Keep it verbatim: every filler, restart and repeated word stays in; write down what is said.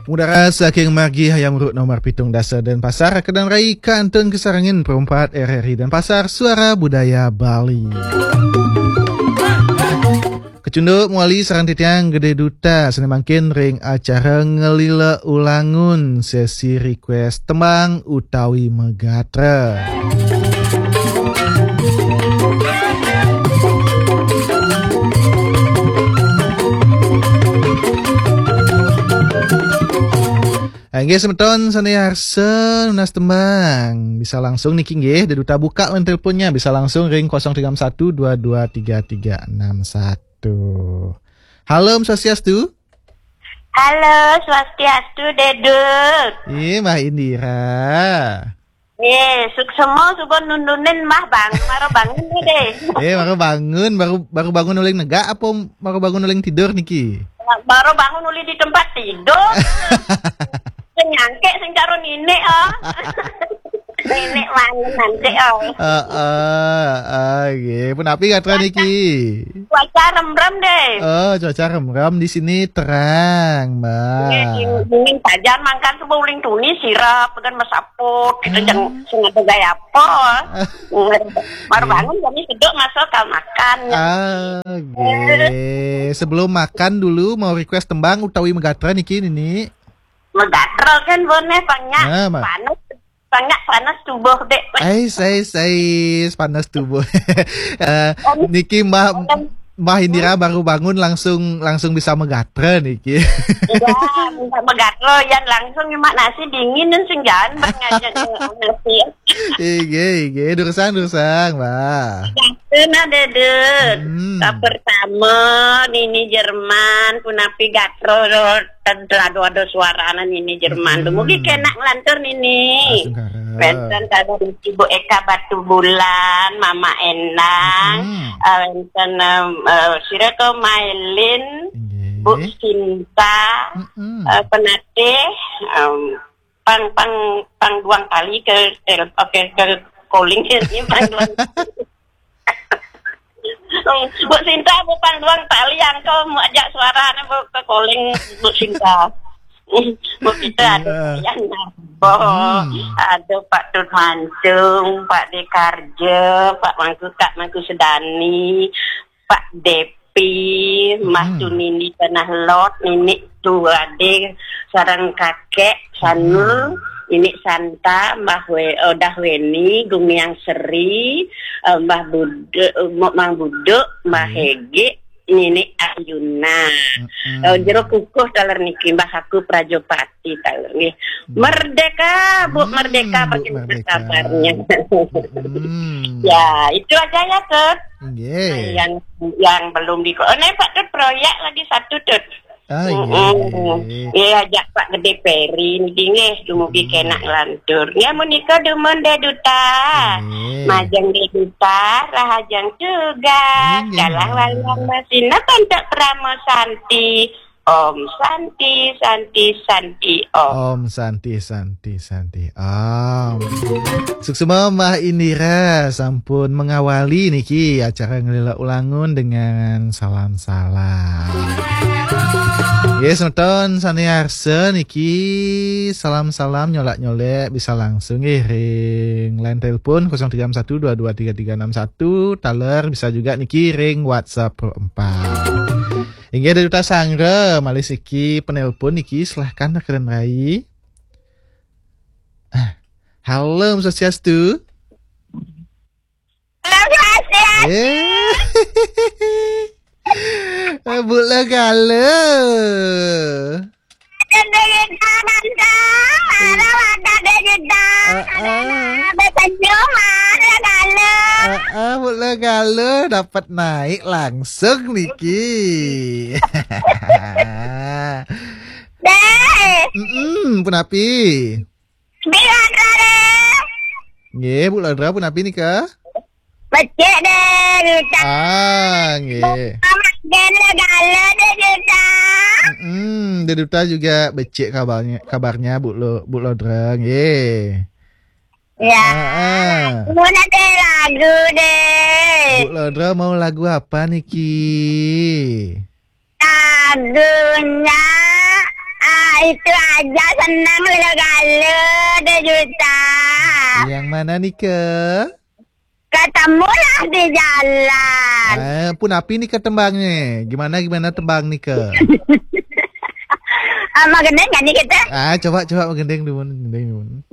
Pengudara saking margi Hayam Wuruk nomor pitung dasa Denpasar, kedan rai kantun kasarengin perumpat R R I Denpasar, Suara Budaya Bali. Kecunduk mawali sareng titiang Gede Duta, sane mangkin ring acara Ngelila Ulangun, sesi request tembang utawi megatra. Inggih, semeton sane arsa nunas tembang, bisa langsung niki nggih, Gede Duta buka line teleponnya, bisa langsung ring kosong tiga satu dua dua tiga tiga enam satu. Halo, Om Swastiastu. Halo, Swastiastu, Dedut. Ih, Mbah Indira. Eh, suksema suba nundunin Mbah bang, mara bangun deh. Eh, baru bangun, baru, baru bangun uling negak apa baru bangun uling tidur niki? Baru bangun uli di tempat tidur. Sing nyangkek, sing karo nenek, oh. Nenek mana nanti, oh. Heeh, heeh, nggih. Punapi gatra niki? Cuaca remrem deh. Oh, cuaca remrem, di sini terang, Mbak. Nggih, dingin saja, mangkan suba uling tuni sirep, kan mesaput, gitu, Ah. Jangan sengaja gaya apa. Baru Nggih. Bangun, kami seduk masuk ke makan. Ah, nggih. Sebelum makan dulu, mau request tembang utawi megatra niki, Nini? Megatra kan boleh, banyak. Ah, ma- Panas, banyak panas tubuh, dek. Ais, ais, ais, panas tubuh. Eh, Om, niki Mbah, om. Mbah Indira baru bangun langsung, langsung bisa megatra niki. Iya, bisa megatra, yang langsung nyemak nasi dingin dan senggan, banyak aja nyemak nasi. Inggih, inggih. Durusang, durusang, Mbah. Kena, Dedut. Hmm. Ka pertama, Nini Jerman, punapi gatra, ten-, ada suarana Nini Jerman. Hmm. Dumugi kenak nglantur, Nini. Asungkara. Wenten kalian Ibu Eka Batubulan, Mama Endang, Hmm. Eh, wenten, em, eh, sira ke Mailin, Inggih. Bu Sinta, Mm-mm. Eh, Penatih, em, pang, pang, pang duang kali ke tel-, oke, ke calling ini pang duang. Bu Sinta, bu pang duang kali, angkel mau ajak suaranya, bu, ke calling, Bu Sinta. Bu kita ada Iya. Yang nambah. Hmm. Ada Pak Tut Mancung, Pak Dekarja, Pak Mangku, Kak Mangku Sedani, Pak Depi, Mbah Hmm. Tunini Tanah Lot, Nini Tu Ade, sareng Kakek Sanul, Hmm. Nini Santa, Mbah We-, oh, Dah Weni, Gumiang Seri, eh, Mbah Buduk, eh, Mok Mang Buduk, Mbah Hmm. Hege, Nini Ayuna. Hmm. Eh, jero kukuh taler niki, Mbah Aku Prajopati taler nggih. Hmm. Merdeka, Bu, Hmm, merdeka, Bu, bagaimana merdeka. Kabarnya? Hmm. Ya, itu aja ya, Tut. Nggih. Nah, yang, yang belum di-, oh, nih, Pak Tut, proyek lagi satu, Tut. Ah, Mm-mm. Nggih. Nggih, ajak Pak Gede Peri niki nggih, dumugi Hmm. Kenak lantur. Ya, menika dumun Dek Duta. Nggih. Majeng Dek Duta, rahajeng tugas. Nggih, kalah Mbak. Walian masina pantak Pramo Santi. Om Santi, Santi, Santi, Om. Om Santi, Santi, Santi, Om. Suksma Mbah Indira sampun mengawali niki acara Ngelila Ulangun dengan salam-salam. Yes, semeton sane arsa niki salam-salam nyolak-nyolek bisa langsung nggih ring line telepon kosong tiga satu dua dua tiga tiga enam satu, taler bisa juga niki ring WhatsApp Pro empat. Inggih, Dek Duta Sanggra, malih siki penelpon niki, silahkan, Keren Rai. Ah, halo, Om Swastiastu. Halo, Swastiastu. Eh. Eh, Bu Legala. Ada Dek Duta, Tante. Halo, ada Dek Duta. Ah, ah. Ada, ada, senyum, ada, halo. Ah, ah, Bu Legala dapat naik langsung niki. Dek. Mm-mm, punapi? Bila kare. Nggih, Bu Ladra, punapi nika? Becik, Dek Duta. Ah, nggih. Selamat Dek Legala, Dek Duta. Mm-mm, Dek Duta juga becik kabarnya, kabarnya, Bu Lo-, Bu Ladra, nggih. Ya. Ah, ah. Mau nanti lagu, Dek. Bu Ladra mau lagu apa niki? Lagunya, ah, Itu aja senang lalu kalau dua juta. Yang mana nih ke? Ketemulah di jalan. Eh, pun api nih ke tembangnya. Gimana gimana tembang nih ke? Sama gendeng kan nih kita? Ah, coba coba gendeng dulu, gendeng dulu.